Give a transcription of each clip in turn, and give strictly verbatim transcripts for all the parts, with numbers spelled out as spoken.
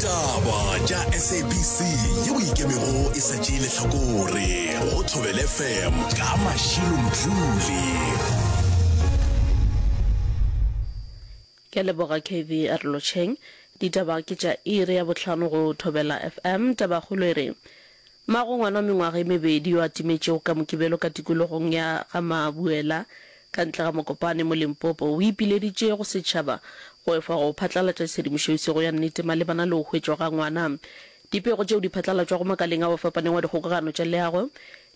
Ditaba tša S A B C yeo ikemego e sa tšee lehlakore go Thobela F M ka Mashilo Mdluli. Ke a leboga K V a re lotšheng. Ditaba ke tša iri ya bohlano go Thobela F M. Tabakgolo e re, Mmago ngwana wa mengwaga e mebedi yo a timetšego ka Mokibelo ka tikologong ya ga Mabuela ka ntle ga Mokopane mo Limpopo o ipileditše go setšhaba go efa go phatlalatša tshedimošo e sego ya nnete malebana le go hwetšwa ga ngwana. Dipego tšeo di phatlalatšwago makaleng ao a fapanego a dikgokagano tša leago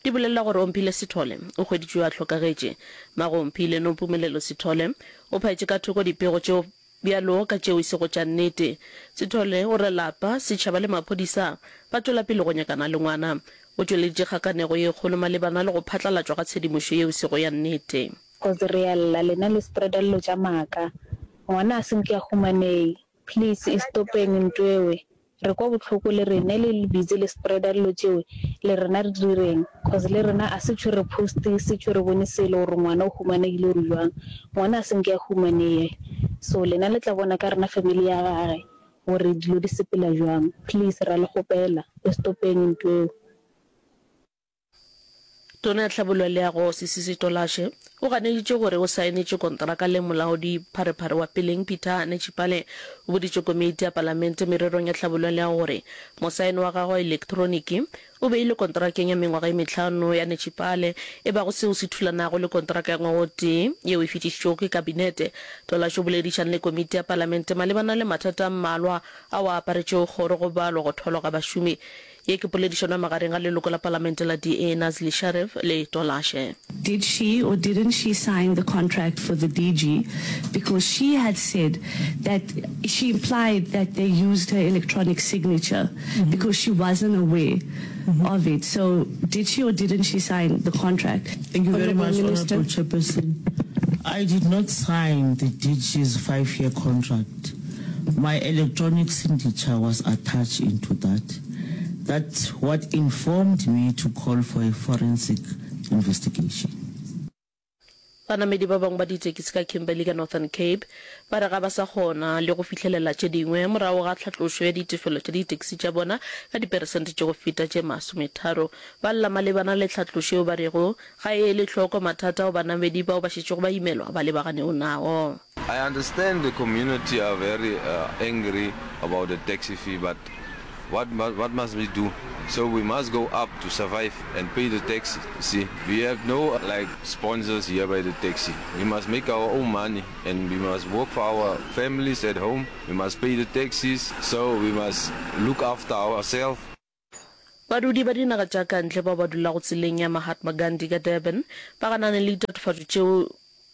di bolelela gore Omphile Sithole o hweditšwe a hlokagetše. Mmago Omphile, Nompumelelo Sithole, o phaetše ka thoko dipego tšeo bjalo ka tšeo e sego tša nnete. Sithole o re lapa, setšhaba le maphodisa ba tšwela pele go nyakana le ngwana. O tšweleditše kgakanego ye kgolo malebana le go phatlalatšwa ga tshedimošo yeo e sego ya nnete. Cause re a lla lena le spreada dilo tša maaka ngwana a se nke a humanei please e stopeng ntwewe re kwa bohloko le rene le le busy le spreada dilo tšewe le rena re direng cause le rena a se tšho re post se tšho re bone selo gore ngwana o humanegile or jwang ngwana a se nke a humaneye so lena le tla bona ka rena family ya gage gore dilo di sepela jwang please ra le kgopela e stopeng ntweo. Tona ya Tlhabollo ya Leago, Sisisi Tolashe, o ganeditše gore o saenetše kontraka le molaodi pharephare wa peleng Peter Netshipale. O boditše komiti ya palamente mererong ya tlhabollo ya leago gore mosaeno wa gagwe wa elektroniki o beilwe kontrakeng ya mengwaga e mehlano ya Netshipale, e bago seo se thulanago le kontraka ya ngwaga o tee yeo e fetišitšwego ke kabinete. Tolashe o boledišane le komiti ya palamente malebana le mathata a mmalwa ao a aparetšego kgoro go balwa go thwalwa ga bašomi. Ye ke poledišano ya magareng ga leloko la palamente la D A Nazli Sharif le Tolashe. Did she or didn't she sign the contract for the D G? Because she had said that she implied that they used her electronic signature because she wasn't aware of it. So did she or didn't she sign the contract? Thank you very Honorable much, Minister. Honorable Chairperson. I did not sign the D G's five-year contract. My electronic signature was attached into that. That's what informed me to call for a forensic investigation. Banamedi ba bangwe ba ditekisi ka Kimberley ka Northern Cape ba re ga ba sa kgona le go fihlelela tše dingwe morago ga tlhatlošo ya ditefelo tša ditekisi tša bona ka diperesente tše go feta tše masometharo. Ba lla malebana le tlhatlošo yeo ba rego ga e ele hloko mathata ao banamedi bao ba šetšego ba imelwa ba lebaganego nao. I understand the community are very uh, angry about the taxi fee, but what, what must we do? So we must go up to survive and pay the taxi. See, we have no like sponsors here by the taxi. We must make our own money and we must work for our families at home. We must pay the taxis, so we must look after ourselves. Badudi ba dinaga tša ka ntle bao ba dulago tseleng ya Mahatma Gandhi ka Durban ba ganane le ditatofatšo tšeo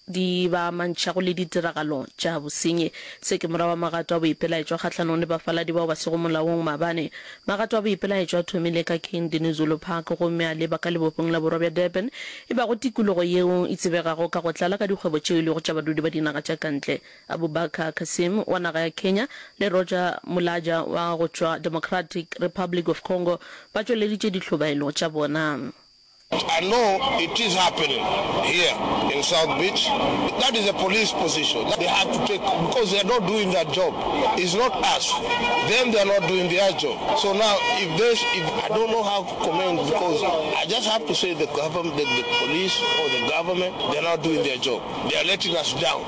di ba amantšhago le ditiragalo tša bosenyi. Se ke morago ga magato a boipelaetšo kgahlanong le bafaladi bao ba sego molaong maabane. Magato a boipelaetšo a thomile ka King Dinuzulu Park gomme a leba ka lebopong la borwa bja Durban, e bago tikologo yeo e tsebegago ka go tlala ka dikgwebo tšeo e lego tša badudi ba dinaga tša ka ntle. Abubakar Kassim wa naga ya Kenya le Roger Mulaja wa go tšwa Democratic Republic of Congo ba tšweleditše dihlobaelo tša bona. I know it is happening here in South Beach. That is a police position. They have to take, because they are not doing their job. It's not us. Them, they are not doing their job. So now, if there's, if I don't know how to comment because I just have to say the government, the, the police or the government, they are not doing their job. They are letting us down.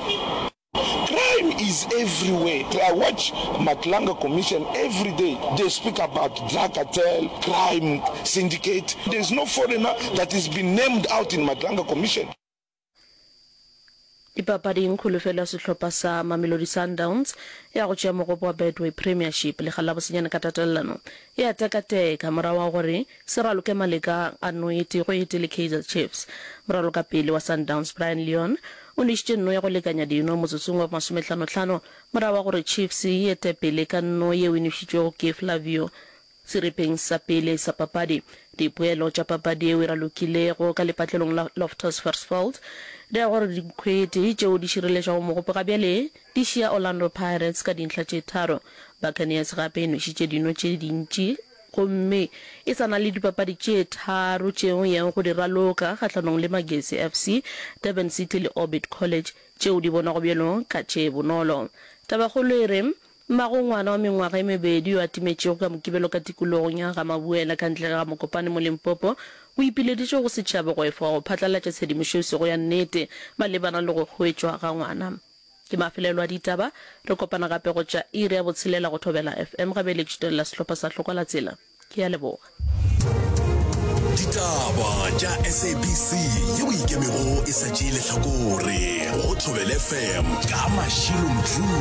Crime is everywhere. I watch Madlanga Commission every day. They speak about drug cartel, crime syndicate. There's no foreigner that has been named out in Madlanga Commission. Dipapading, kholofelo ya sehlopha sa Mamelodi Sundowns ya go tšea mogopo wa Betway Premiership lekga la bosenyane ka tatelano e a tekateka morago ga gore se raloke maleka a nno e tee go e tee le Kaizer Chiefs. Moralokapele wa Sundowns Brayan Leon o nwešitše nno ya go lekanya dino motsotsong wa masomehlanohlano morago ga gore Chiefs e ete pele ka nno yeo e nwešitšwego ke Flavio seripeng sa pele sa papadi. Dipoelo tša papadi yeo e ralokilego ka lepatlelong la Loftus Versfeld di ra gore dikhwete tšeo di šireletšago mogopo ga bjale di šia Orlando Pirates ka dintlha tše tharo. Buccaneers gape e nwešitše dino tše dintši gomme e sa na le dipapadi tše tharo tšeo e yago go di raloka kgahlanong le Magesi F C, Durban City le Orbit College tšeo di bonwago bjalo ka tše bonolo. Tabakgolo e re Mmago ngwana wa mengwaga e mebedi yo a timetšego ka Mokibelo ka tikologong ya Ga-Mabuela ka ntle ga Mokopane mo Limpopo o ipileditše go setšhaba go efoga go phatlalatša tshedimošo e sego ya nnete malebana le go hwetšwa ga ngwana. Ke mafelelo a ditaba, re kopana gape go tša iri ya botshelela go Thobela F M ga bjale ke šutelela sehlopha sa Hlokwa la Tsela. Ke a leboga. Ditaba tša S A B C yeo e ikemego e sa tšee lehlakore go Thobela F M ka Mashilo Mdluli.